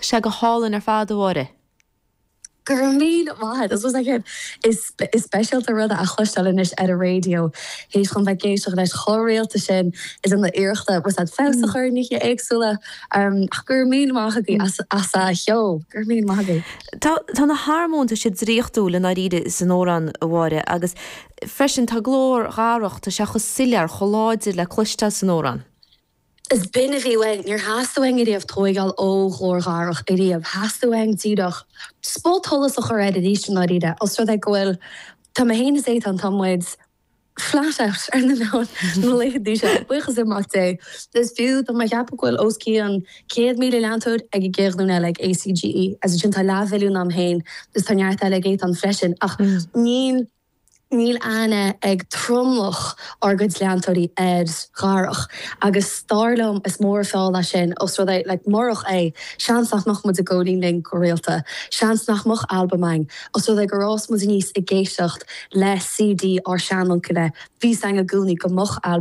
Tá sé go hálainn ar fad, a Mháire. Go raibh míle maith agat. Is like is is speisialta rud a chloisteáil anois ar an raidió théis dhom bheith ag éisteacht leis chomh rialta sin is ina iarrachta bhfuil a fhios agat feabhas a chur ar nithe éagsúla. Ach go raibh míle maith agaibh as as a cheol. Go raibh míle maith agaibh. Tá tá na harmóin tá siad draíochtúil i ndáiríre san amhrán, a Mháire, agus freisin tá glór Dharach, tá sé chomh soiléir, chomh láidir le cloisteáil san amhrán. Is b'in a bhí uainn. Níor theastaigh uainn ariamh tóigeáil ó ghlór Dharach ariamh. Theastaigh uainn díreach spotsholas a chur air arís i ndáiríre. Os rud é go bhfuil, tá mé féin is Étáin, tá muid flat out ar na meáin na laethanta seo, buíochas le Mac Dé. Is fiú, tá mé ag ceapadh go bhfuil os cionn 100,000 leantóir ag an gcéad ghlúin eile ag ACGE. As sin tá leathmhilliún a'm féin is tá neart eile ag Étáin freisin. Ach níl. Níl aithne ag tromlach ár gcuid leantóirí ar Dharach agus dar liom is mór an feall é sin os rud é, like, murach é, seans nach mbeadh muid ag Góilín Linn go rialta, seans nach mbeadh albam againn, os rud é gur fhás muid aníos ag éisteacht le CD ár seanuncaile, bhí 's againn i gcónaí go mbeadh albam.